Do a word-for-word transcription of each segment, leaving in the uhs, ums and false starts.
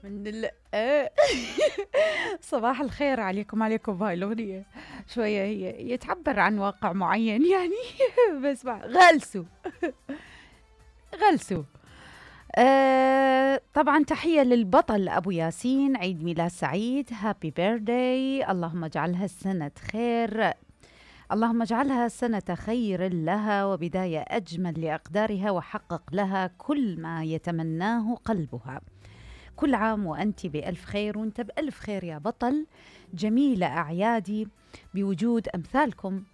من ال صباح الخير عليكم عليكم بهاي الأغنية. شوية هي يتعبر عن واقع معين يعني. بس غلسوا غلسوا. آه طبعا تحية للبطل أبو ياسين، عيد ميلاد سعيد، هابي بيرثداي، اللهم اجعلها السنة خير، اللهم اجعلها سنة خير لها وبداية أجمل لأقدارها، وحقق لها كل ما يتمناه قلبها. كل عام وأنت بألف خير، وأنت بألف خير يا بطل. جميلة أعيادي بوجود أمثالكم.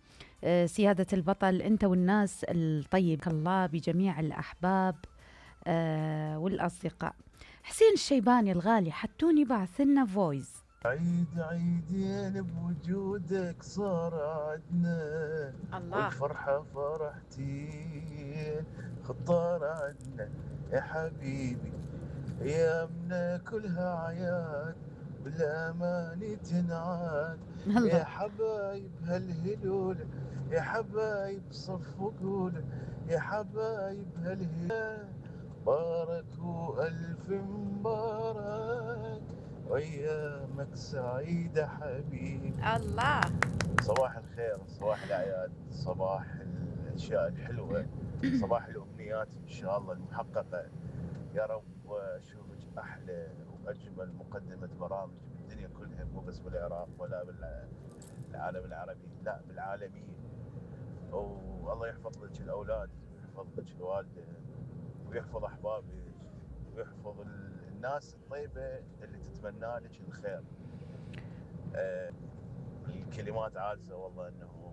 آه سيادة البطل أنت والناس الطيب الله بجميع الأحباب آه والأصدقاء. حسين الشيباني الغالي حتوني بعث لنا فويس. عيد عيدين بوجودك صار عدنا، الله. والفرحة فرحتين خطار عدنا يا حبيبي، ايامنا كلها عياد بالأمان تنعاد. يا الله. حبايب هالهلول، يا حبايب صفوا قول، يا حبايب هالهلول بارك وألف مبارك، وأيامك سعيدة حبيبي. الله. صباح الخير، صباح الأعياد، صباح الأشياء الحلوة، صباح الأمنيات إن شاء الله المحققة. يا رب أشوفك أحلى وأجمل مقدمة برامج بالدنيا كلها، مو بس بالعراق ولا بالعالم العربي، لا بالعالمية. والله يحفظ لك الأولاد ويحفظ لك الوالدة ويحفظ أحبابك ويحفظ الناس الطيبة اللي تتمنى لك الخير. آه الكلمات عاجزة والله أنه